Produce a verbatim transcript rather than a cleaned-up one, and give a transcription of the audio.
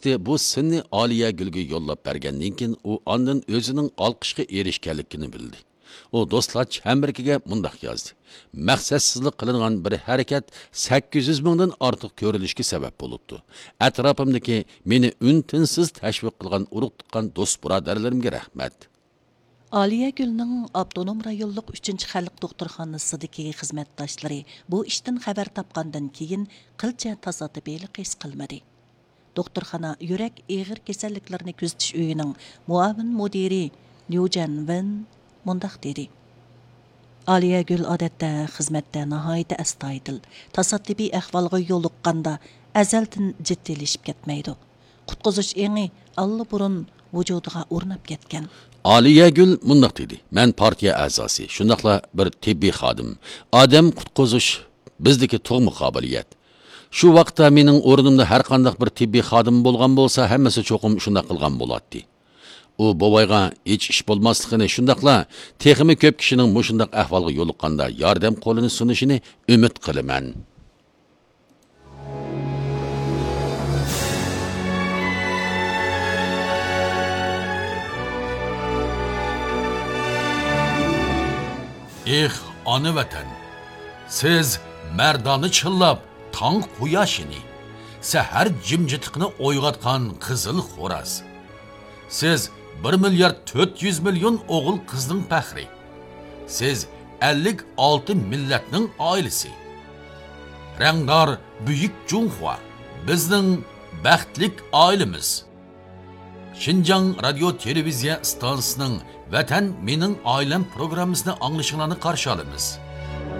ئىككى بۇ سىننى ئالىيەگۈلگە يوللاپ بەرگەندىن كېيىن، ئۇ ئاندىن ئۆزىنىڭ ئالقىشقا ئېرىشكەنلىكىنى بىلدى. ئۇ دوستلارچە ھەممىرىكىگە مۇنداق يازدى: «مەقسەتسىزلا قىلىنغان بىر ھەرىكەت سەككىز يۈز مىڭدىن ئارتۇق كۆرۈلۈشكە سەۋەب بولۇپتۇ. ئەتراپىمدىكى مېنى ئۈن-تىنسىز تەشۋىق قىلغان ئۇرۇق-تۇغقان، دوست-بۇرادەرلىرىمگە رەھمەت.» ئالىيەگۈلنىڭ ئاپتونوم رايونلۇق ئۈچىنچى خەلق دوختۇرخانىسىدىكى خىزمەتداشلىرى بۇ ئىشتىن خەۋەر تاپقاندىن كېيىن، قىلچە تاسادىپىيلىق ھېس قىلمىدى. دوختۇرخانا يۈرەك ئېغىر كېسەللىكلىرىنى كۆزىتىش ئۆيىنىڭ مۇئاۋىن مۇدىرى ليۇ جەنۋېن مۇنداق دېدى: «ئالىيەگۈل ئادەتتە خىزمەتتە ناھايىتى ئەستايىدىل، تاسادىپىي ئەھۋالغا يولۇققاندا ئەزەلدىن جىددىيلىشىپ كەتمەيدۇ. قۇتقۇزۇش ئېڭى ئاللىبۇرۇن ۋۇجۇدىغا ئورناپ كەتكەن.» ئالىيەگۈل مۇنداق دېدى: «مەن پارتىيە ئەزاسى، شۇنداقلا بىر تېببىي خادىم. ئادەم قۇتقۇزۇش بىزدىكى تۇغما قابىلىيەت. شۇ ۋاقىتتا مېنىڭ ئورنۇمدا ھەرقانداق بىر تېببىي خادىم بولغان بولسا، ھەممىسى چوقۇم شۇنداق قىلغان بولاتتى.» ئۇ بوۋايغا ھېچ ئىش بولماسلىقىنى، شۇنداقلا تېخىمۇ كۆپ كىشىنىڭ مۇشۇنداق ئەھۋالغا يولۇققاندا ياردەم قولىنى سۇنۇشىنى ئۈمىد قىلىمەن. ئېھ، ئانا ۋەتەن! سىز مەردانە چىللاپ تاڭ قۇياشىنى، سەھەر جىمجىتلىقىنى ئويغاتقان قىزىل خوراز. سىز بىر مىليارد تۆت يۈز مىليون ئوغۇل-قىزنىڭ پەخرى. سىز ئەللىك ئالتە مىللەتنىڭ ئائىلىسى. رەڭدار بۈيۈك جۇڭخۇا، بىزنىڭ بەختلىك ئائىلىمىز. شىنجاڭ رادىيو تېلېۋىزىيە ئىستانسىسىنىڭ ۋەتەن مېنىڭ ئائىلەم پروگراممىسىنى ئاڭلىشىڭلارنى قارشى ئالىمىز.